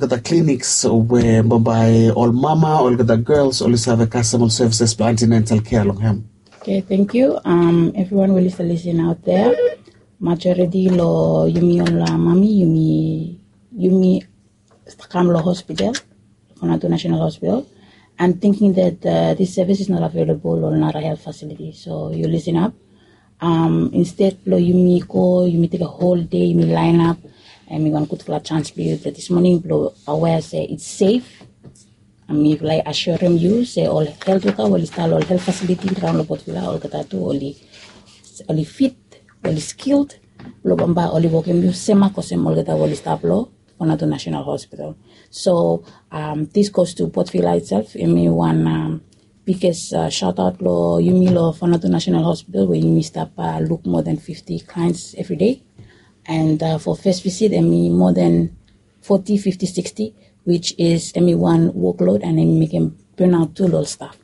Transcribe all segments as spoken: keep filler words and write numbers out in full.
olgeta clinics we bambae ol mama, olgeta girls oli save kasem ol services blong antenatal care long hem. Okay, thank you. Um, everyone will listen, listen out there. Majority lo yumi ol uh, mami, yumi yumi kam lo hospital, Fanotu National Hospital, and thinking that uh, this service is not available or not a health facility. So you listen up. Um, instead lo yumi go, yumi take a whole day, yumi line up, and we want gudfala chance for you that this morning lo aware say it's safe. Ami like assurem yu se ol health worker we oli stap lo ol health facility raon lo Port Vila olgeta tu oli oli fit, oli skilled, lo bambae oli wokem yu semak olsem olgeta we oli stap lo Fanotu National Hospital. So um, this goes to Port Vila itself. Hemi wan um, biggest uh, shout out lo yumi lo Fanotu National Hospital we yumi stap uh, look more than fifty clients every day. And uh, for first visit, hemi more than forty, fifty, sixty, which is hemi wan workload and hemi mekem burnout tu lo ol staff.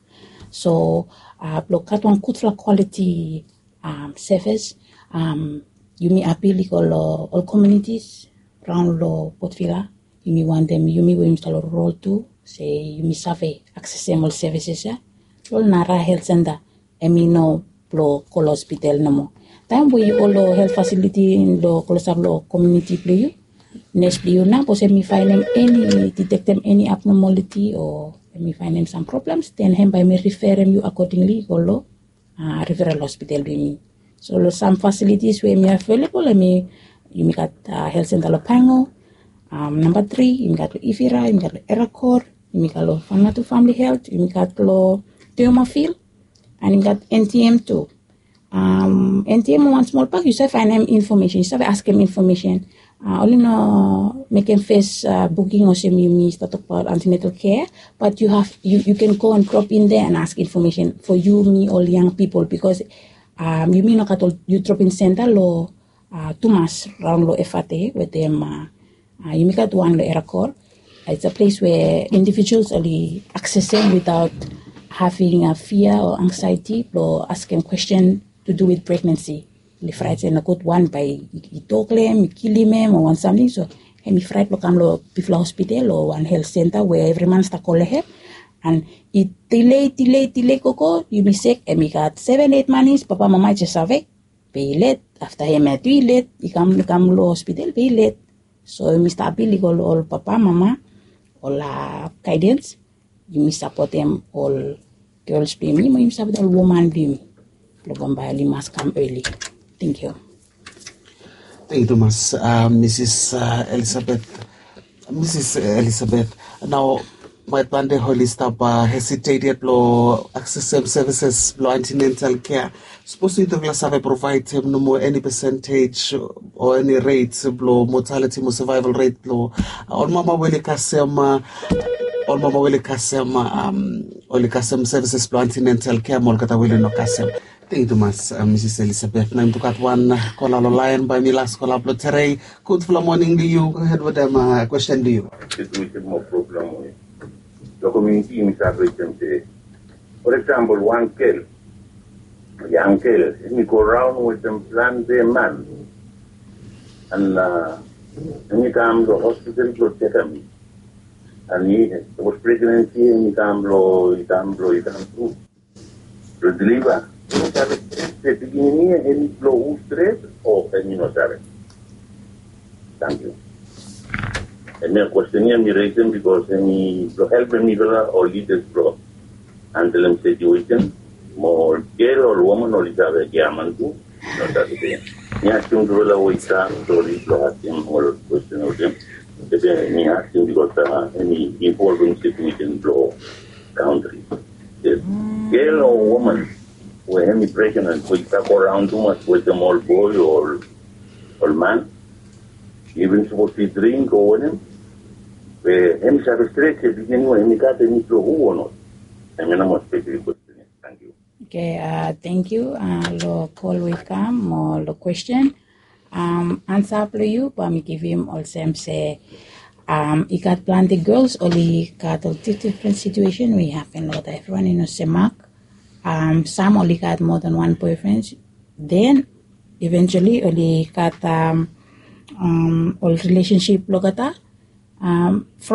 So uh, blo gat wan gudfala quality um, service, um, yumi appeal i go lo ol communities raon lo Port Vila. Yumi wantem yumi we yumi stap lo rural tu se yumi save accessem ol services ya lo ol nara health center. Hemi no blo go lo hospital nomo. Taem we yu go lo health facility lo klosap lo community blo yu, nurse blo yu nao sapos hemi faenem eni, detectem eni abnormality o hemi faenem sam problems, then hem bae hemi referem yu accordingly go lo uh, referral hospital blo yumi. So lo sam facilities we hemi available, hemi yumi gat uh, health center lo Pango, um, namba tri yumi gat lo Ivira, yumi gat lo Erakor, yumi gat lo Fanotu Family Health, yumi gat lo Teoma Field, and yumi gat N T M tu. Um, N T M wan smol bak yu save faenem information, yu save askem information. Uh, oli no mekem fes uh, booking olsem yumi stap tokbaot antenatal care, but you have you, you can go and drop in there and ask information for yumi ol young people because um, yumi no gat ol youth drop-in center lo uh, tumas raon lo F R T wetem uh, uh, yumi gat wan lo Erakor. It's a place where individuals oli accessem without having a fear or anxiety blo askem question to do with pregnancy. Oli fraet se nogud wan bae i tok lo hem, i kilim hem o wan samting. So hemi fraet blo kam lo bigfala hospital o wan health center we evri man stap go lo hem. And i delay, delay, delay gogo, yumi sek, hemi gat seven, eight manis, papa, mama i jes save. Be i let, afta hemia tu i let, i kam, i kam lo hospital, be i let. So yumi stap appeal i go lo ol papa, mama, ol uh, guidance, yumi sapotem ol girls blo yumi, mo yumi sapotem ol woman blo yumi. Blo bambae oli mas kam early. Thank you. Thank you tumas, uh, Mrs uh, Elizabeth. Mrs Elizabeth, nao bae plante oli stap uh, hesitate yet blo accessem services blo antenatal care. Sapos yutufala save provaedem nomo eni percentage o eni rate blo mortality mo survival rate blo uh, ol mama we oli kasem uh, ol mama we oli kasem uh, um, oli kasem services blo antenatal care mo olgeta we oli no kasem. Thank you tumas uh, Mrs Elizabeth. Nao yumi tu gat wan uh, kola lo laen bae hemi las kola blo terei. Gudfala moning lo yu. Go ahead wetem uh, question blo yu. Situation mo problem we lo community yumi save wetem se, for example, wan gel, yang gel, hemi go raon wetem plante man. And uh, hemi kam lo hospital blo jekem. And i was pregnancy, hemi kam lo, i kam lo, i kam tu lo deliver. Yu no save se pikinini ya hemi blo hu stret o hemi no save. Thank you. Hemia question ya mi raisem because hemi blo helpem mifala ol leaders blo handlem situation. Mo ol gel, ol woman oli save giaman tu. No save se mi askem tufala we i stap, sori blo askem ol question olsem. Be mi askem because uh, hemi involvem situation blo country. Yes. Gel o woman we hemi pregnant we i save go raon tumas wetem ol boe o ol man. Even sapos i dring o wanem, be hemi save stret se pikinini we hemi gat hemi blo hu o not. Hemia nao mo specific question. Thank you. Okay, uh, thank you uh, lo kol we i kam mo lo question. Um, ansa blo yu bae mi givim olsem se um, i gat plante girls oli gat ol different situation we i hapen lo olgeta. Evriwan i no semak. Um, sam oli gat more than one boyfriend. Then eventually oli gat um, um, ol relationship lo olgeta. Um,